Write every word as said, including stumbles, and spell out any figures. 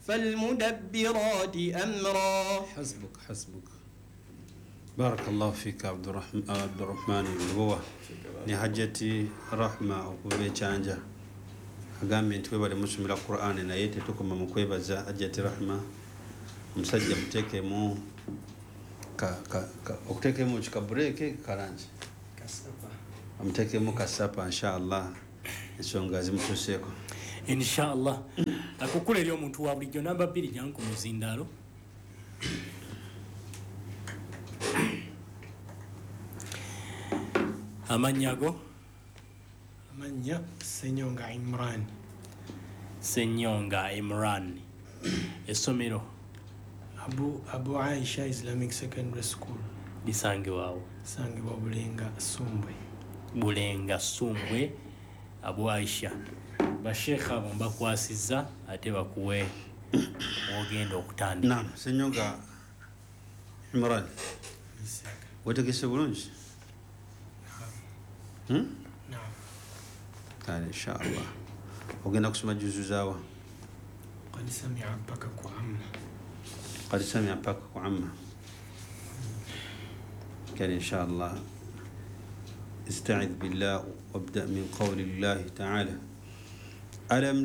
فالمدبرات أمرا. حسبك حسبك. بارك الله فيك عبد الرحمن عبد الرحمن Lubowa ne Hajjati Rahma okuva ekyanja agambye nti webale musomera Qur'an naye tetukoma mu kwebaza Hajjati Rahma omusajja muteekemu okuteekemu kikabureeke kalangi amuteekemu kasapa inshallah ensonga zimutuuseeko inshallah. Akukula eri omuntu wa bulijjo namba bbiri jangu ku muzindaalo. Amannya go? Amannya Ssenyonga Imran. Ssenyonga Imran. Essomero? Abu, Abu Aisha Islamic Secondary School. Lisangibwawo? Lisangibwa Bulenga Ssumbwe. Bulenga Ssumbwe, Abu Aisha. Basheekha abo mbakwasizza ate bakuwe ogenda okutandika. Naam, Ssenyonga Imran. Wetegese bulungi? Hmm? Naam. Kale inshallah. Ogenda kusoma juzu zawa? Qad sami'a mpaka ku amma. Qad sami'a mpaka ku amma. Kale inshallah. استعذ بالله وابدأ من قول الله تعالى ألم